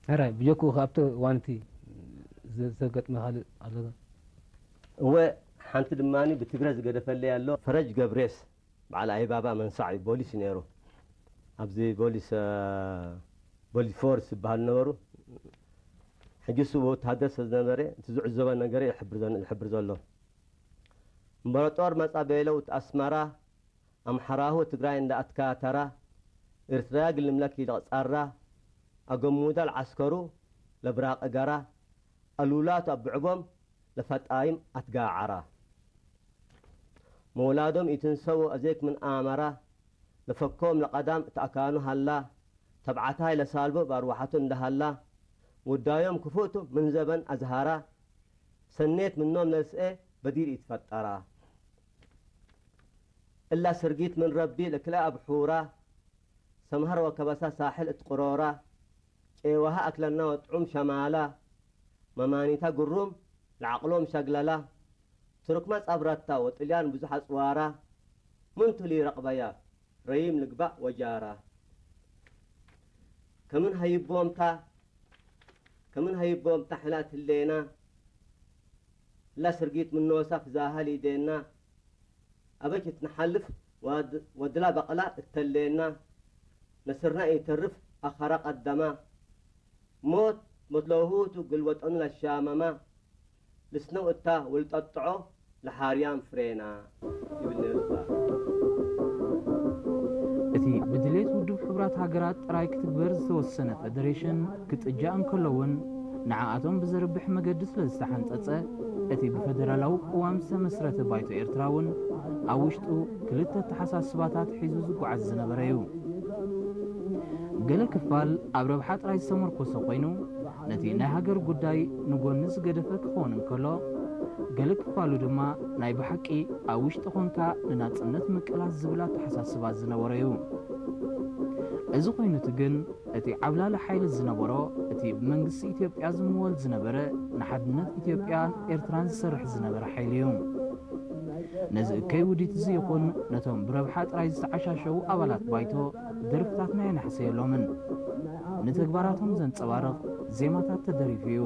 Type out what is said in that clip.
ሕራይ ብጀኩ ካብቲ ዋንቲ ዘ- ዘገጥመ ካልእ ኣሎ ዶ? እወ፣ ሓንቲ ድማ ብትግረ ዝገደፈለይ ኣሎ። ፈረጅ ገብሬስ በዓል ኣይባባ መንሳዕ እዩ፣ ቦሊስ እዩ ነይሩ። ኣብዚ ቦሊስ ቦሊፎርስ ዝበሃሉ ነበሩ። ሕጂ እሱ ወታደር ስለ ዝነበረ እቲ ዝዕዘቦ ነገር ይሕብር ዘሎ። እምበረጦር መጻ በይለው እቲ ኣስመራ ኣምሓራሁ ትግራይ እንዳኣትካ ተራ ኤርትራ ግልምለክ ይለቕጻራ ኣገሙዳል ዓስከሩ ለብራቕ ጋራ ኣሉላቱ ኣብዕቦም ለፈጣይም ኣትጋዓራ መውላዶም ይትንሰው ኣዜክ ምን ኣመራ ለፈኮም ለቐዳም እትኣካኑ ሃላ ተብዓታይ ለሳልቦ ባርዋሓቱ እንዳሃላ ውዳዮም ክፉእቱ ምን ዘበን ኣዝሃራ ሰኔት ምኖም ለስኤ በዲር ይትፈጠራ እላ ስርጊት ምን ረቢ ለክልኣ ኣብሑራ ሰምሃር ወከበሳ ሳሕል እትቅሮራ ቄዋሃ ኣክለና ወጥዑም ሸማላ መማኒታ ግሩም ለዓቅሎም ሸግለላ ትርክማ ጻብራታ ወጥልያን ብዙሕ ኣጽዋራ ምን ቱሊ ረቅበያ ረይም ልግባእ ወጃራ ከምን ሃይቦምታ ከምን ሃይቦምታ ሕላ ትሌና እላ ስርጊት ምኖሳ ክዛሃል ይዴና ኣበች እትንሓልፍ ወድላ በቕላ እተሌና ነስርና ኢተርፍ ኣኸራ ቀደማ ሞት ሞት ለውሁቱ ግልወጠኑ ለሻመማ ልስነው እታ ውልጠጥዖ ለሓርያም ፍሬና ይብል ነይሩ እባ። እቲ ብድሌት ውድብ ሕቡራት ሃገራት ጥራይ ክትግበር ዝተወሰነ ፈደሬሽን ክጥጃእ እንከሎ እውን ንዓኣቶም ብዘርብሕ መገዲ ስለ ዝተሓንጸጸ እቲ ብፈደራላዊ ቅዋም ዝተመስረተ ባይቶ ኤርትራ እውን ኣብ ውሽጡ ክልተ ኣተሓሳስባታት ሒዙ ዝጓዓዝ ዝነበረ እዩ። ገለ ክፋል ኣብ ረብሓ ጥራይ ዝተመርኮሰ ኮይኑ ነቲ ናይ ሃገር ጉዳይ ንጎኒ ዝገደፈ ክኸውን እንከሎ ገለ ክፋሉ ድማ ናይ ብሓቂ ኣብ ውሽጢ ኾንካ ንናጽነት ምቅላስ ዝብል ኣተሓሳስባ ዝነበሮ እዩ። እዚ ኮይኑቲ ግን እቲ ዓብላሊ ሓይሊ ዝነበሮ እቲ ብመንግስቲ ኢትዮጵያ ዝምወል ዝነበረ ንሓድነት ኢትዮጵያን ኤርትራን ዝሰርሕ ዝነበረ ሓይሊ እዩ። ነዚ እከይ ውዲት እዚ ይኹን ነቶም ብረብሓ ጥራይ ዝተዓሻሸዉ ኣባላት ባይቶ ደርፍታትና የናሕሰየሎምን ንተግባራቶም ዘንጸባርቕ ዜማታት ተደሪፉ እዩ።